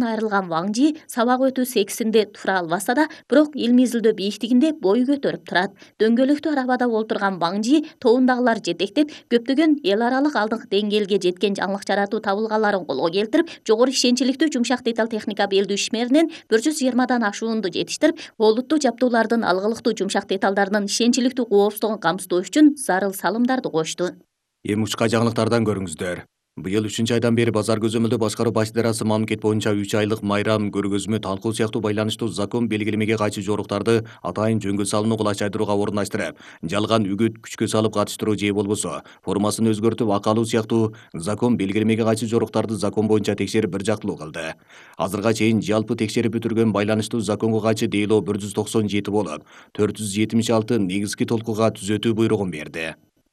айрылган Ваң Жи сабак өтүү сексинде тура албаса да, бирок илмий изилдөө бийиктигинде бой көтөрүп турат. Дөңгөлөктүү арабада олтурган Ваң Жи тобундагылар жетектеп, көптөгөн эл аралык алдыңкы деңгээлге жеткен жаңылык жаратуу табылгаларын колго келтирип, жогору ишенчиликтүү жумшак деталь техника белдүү ишмеринен 120дан ашуунду жетиштирип, олуттуу жабдуулардын алгылыктуу жумшак деталдарынын ишенчиликтүү коопсуздугун камсыздоо үчүн зарыл салымдарды кошту. Эми учка жаңылыктардан көрүңүздөр. Быйыл 3-айдан бери базар көзөмөлдөө башкаруу баш идарасы мамлекет боюнча 3 айлык майрам, көргөзмө, талкуу сыяктуу байланыштуу закон белгилемеге кайшы жоруктарды атайын жөнгө салууну кулачайдырууга орундаштырып, жалган үгүт күчкө салып катыштыруу же болбосо формасын өзгөртүп акалуу сыяктуу закон белгилемеге кайшы жоруктарды закон боюнча текшерип бир жактылуу кылды. Азырга чейин жалпы текшерип бүтүргөн байланыштуу законго кайшы дейлоо 197 болуп, 476 негизги толкууга түзөтүү буйругун берди.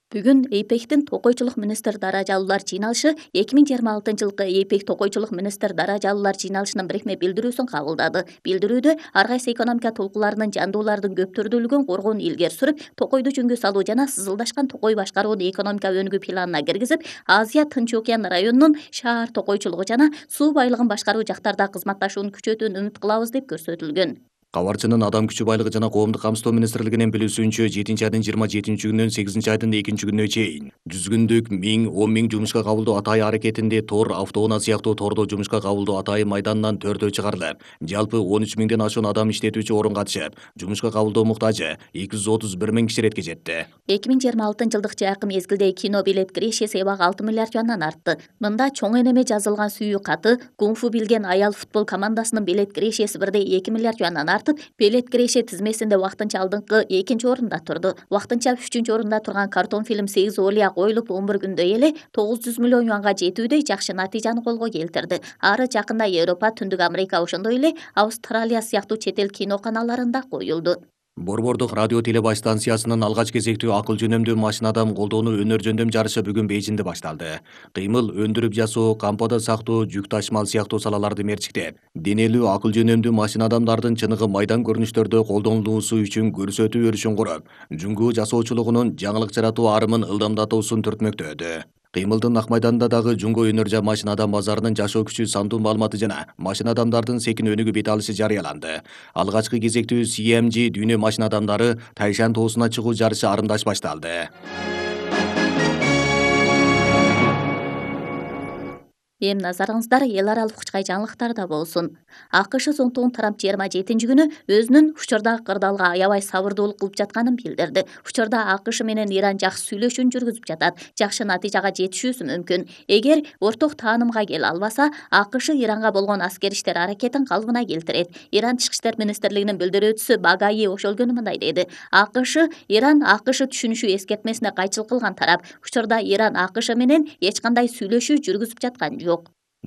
Бүгүн ЭйПЕКтин токойчулук министр даражалуулар жыйналышы 2026-жылкы ЭйПЕК токойчулук министр даражалуулар жыйналышынын бирикме билдирүүсүн кабылдады. Билдирүүдө ар кайсы экономика толкууларынын жандуулардын көптүрдүүлүгүн коргоону илгери сүрүп, токойду жөнгө салуу жана сызылдашкан токой башкарууну экономика өнүгүү планына киргизип, Азия Тынч океан районунун шаар токойчулугу жана суу байлыгын башкаруу жактарда кызматташууну күчөтүүнү үмүт кылабыз деп көрсөтүлгөн. Кабарчынын Адам күчү байлыгы жана коомдук камсыздоо министрлигинин билүүсүнчө 7-айдын 27-күнүнөн 8-айдын 2-күнүнө чейин 100 күндүк 1000, 10 000 жумушка кабылдоо атайы аракетинде тор, автоунаа сыяктуу тордо жумушка кабылдоо атайы майданынан 4 чыгарылып, жалпы 13 000ден ашуун адам иштетүүчү орун катышып, жумушка кабылдоо муктажы 231 000 киши иретке жетти. 2026-жылдык жакын мезгилде кино билет кирешеси эбак 6 миллиард юандан артты. Мында чоң энеме жазылган сүйүү каты, кунг-фу билген аял футбол командасынын билет кирешеси 1,2 миллиард юандан билет киреше тизмесинде вактынча алдыңкы 2 орунда турду. Вактынча 3 орунда турган картон фильм 8 олия коюлуп 11 күндө эле 900 миллион юанга жетүүдөй жакшы натыйжаны колго келтирди. Ары жакында Европа, Түндүк Америка, ошондой эле Австралия сыяктуу чет эл киноканаларында коюлду. Борбордук радио телебаш станциясынын алгач кезектүү акыл жөнөмдүү машинадам колдоону өнөр жөндөм жарышы бүгүн Бейжиңде башталды. Кыймыл, өндүрүп жасоо, кампада сактоо, жүк ташмал сыяктуу салаларды мерчиктеп, денелүү акыл жөнөмдүү машинадамдардын чыныгы майдан көрүнүштөрдө колдонулуусу үчүн көрсөтүү өрүшүн куруп, жүнгүү жасоочулугунун жаңылык жаратуу арымын ылдамдатуусун түртмөктөдү. Кыймылдын ак майданында дагы Жунго өнөр жа машинадам базарынын жашоо күчү сандуу маалыматы жана машинадамдардын секин өнүгүп бет алышы жарыяланды. Алгачкы кезектүү CMG дүйнө машинадамдары Тайшан тоосуна чыгуу жарышы арымдаш башталды. Эми назарыңыздар эл аралык учкай жаңылыктарда болсун. АКШ зонтугун Трамп 27-күнү өзүнүн учурдагы кырдаалга аябай сабырдуулук кылып жатканын билдирди. Учурда АКШ менен Иран жакшы сүйлөшүүн жүргүзүп жатат. Жакшы натыйжага жетишүүсү мүмкүн. Эгер орток таанымга келе албаса, АКШ Иранга болгон аскер иштер аракетин калыбына келтирет. Иран Тышкы иштер министрлигинин билдирүүчүсү Багаи ошол күнү мындай деди. АКШ Иран АКШ түшүнүшү эскертмесине кайчылык кылган тарап. Учурда Иран АКШ менен эч кандай сүйлөшүү жүргүзүп жаткан жок.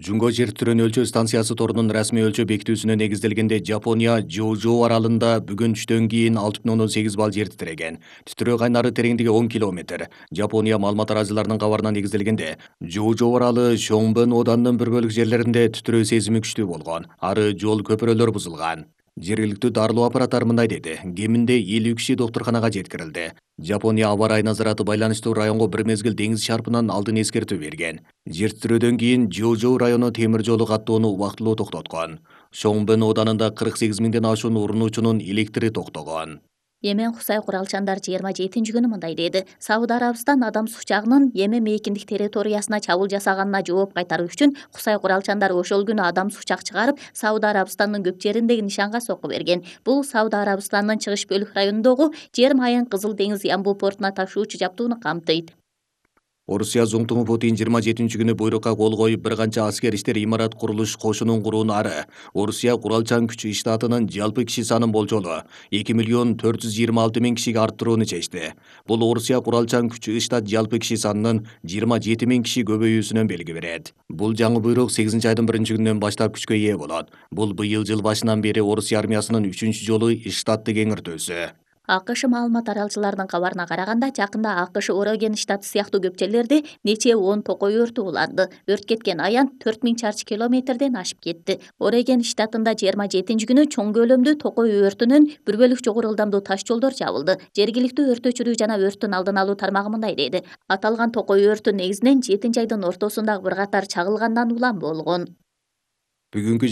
Жунго жер титирөөнү өлчөө станциясы торунун расмий өлчөө бекитүүсүнө негизделгенде Жапония Жоужоу аралында бүгүн түштөн кийин 6,8 балл жер титиреген. Титирөө кайнары тереңдиги 10 километр. Жапония маалымат арачыларынын кабарына негизделгенде Жоужоу аралы Шонбен оданынын бир бөлүк жерлеринде титирөө сезими күчтүү болгон. Ары жол көпүрөлөр бузулган. Жергиликтүү дарылоо аппараттары мындай деди. Кеминде 50 киши доктурканага жеткирилди. Жапония аба ырайы назараты байланыштуу районго бир мезгил деңиз шарпынан алдын эскертүү берген. Жер титирөөдөн кийин Жоужоу району темир жолу каттоону убактылуу токтоткон. Шонбен оданында 48 000ден ашуун урунуучунун электри токтогон. Йемен Кусай куралчандар 27-күнү мындай деди. Сауд Арабистан адам сучагынын Йемен мейкиндик территориясына чабуул жасаганына жооп кайтаруу үчүн Кусай куралчандары ошол күнү адам сучак чыгарып, Сауд Арабистандын көп жериндеги нишанга сокку берген. Бул Сауд Арабистандын чыгыш бөлүк районундогу жер майын Кызыл деңиз Ямбул портуна ташуучу жабдууну камтыйт. Орусия зоңтугу Путин 27-күнү буйрукка кол коюп бир канча аскер иштер имарат курулуш кошунун курууну ары. Орусия куралчан күч иштатынын жалпы киши санын болжолу 2,426,000 кишиге арттырууну чечти. Бул Орусия куралчан күч иштат жалпы киши санынын 27 000 киши көбөйүүсүнөн белги берет. Бул жаңы буйрук 8-айдын 1-күнүнөн баштап күчкө ээ болот. Бул быйыл жыл башынан бери Орусия армиясынын 3-чү жолу иштатты кеңиртүүсү. АКШ маалымат аралчыларынын кабарына караганда, жакында АКШ Ореген штаты сыяктуу көп жерлерде нече 10 токой өртү уланды. Өрт кеткен аян 4000 чарчы километрден ашып кетти. Ореген штатында 27-күнү чоң көлөмдүү токой өртүнөн бир бөлүк жогору ылдамдуу таш жолдор жабылды. Жергиликтүү өрт өчүрүү жана өрттүн алдын алуу тармагы мындай деди. Аталган токой өртү негизинен 7-айдын ортосундагы бир катар чагылгандан улам болгон. Бүгүнкү